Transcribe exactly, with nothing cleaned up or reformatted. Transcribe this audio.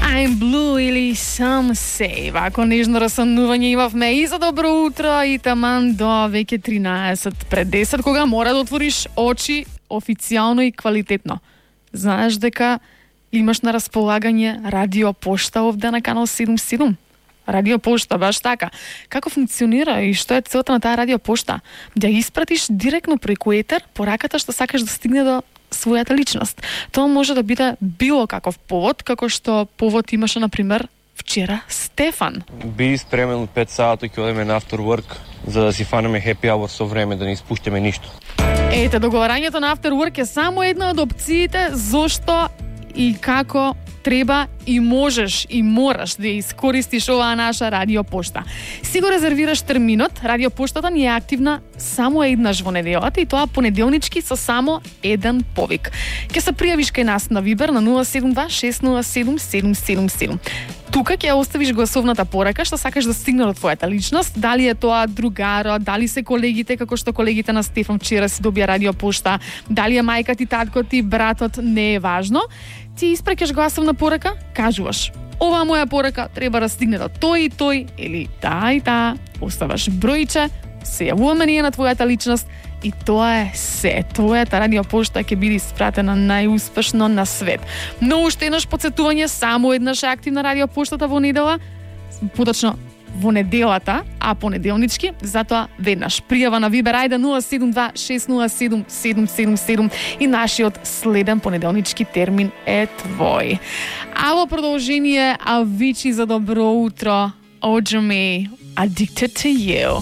I'm Blue или Some Say. Вако нежно расанување имавме и за добро утро и таман до веќе тринаесет пред десет, кога мора да отвориш очи официјално и квалитетно. Знаеш дека имаш на располагање радио пошта овде на канал седумдесет и седум. Радио пошта, баш така. Како функционира и што е целта на таа радио пошта? Да испратиш директно преку етер пораката што сакаш да стигне до својата личност. Тоа може да биде било каков повод, како што повод имаше, например, вчера Стефан. Би спремен од пет сати, ќе одиме на after work, за да си фанеме happy hour со време, да не испуштиме ништо. Ете, договарањето на after work е само една од опциите зошто и како треба и можеш и мораш да искористиш оваа наша радио пошта. Си го резервираш терминот, радио поштата ни е активна само еднаш во неделата и тоа понеделнички со само еден повик. Ќе се пријавиш кај нас на Вибер на нула седум два шест нула седум седум седум седум. Тука ќе оставиш гласовната порака што сакаш да стигне до твојата личност, дали е тоа другаро, дали се колегите, како што колегите на Стефан вчера си добија радио пошта, дали е мајка ти, татко ти, братот, не е важно. Ти испраќаш гласовна порака, кажуваш: оваа моја порака треба да стигне до тој и тој или таа и таа, оставаш бројче, се јавуваме ние на твојата личност и тоа е се. Твојата радио пошта ќе биде испратена најуспешно на свет. Но уште еднаш подсетување, само еднаш е активна радио поштата во недела, поточно во неделата, а понеделнички, затоа веднаш пријава на Вибер, ајде нула седум два шест нула седум седум седум седум и нашиот следен понеделнички термин е твој. А во продолжение, Авичи за добро утро, Оджами, Addicted to You.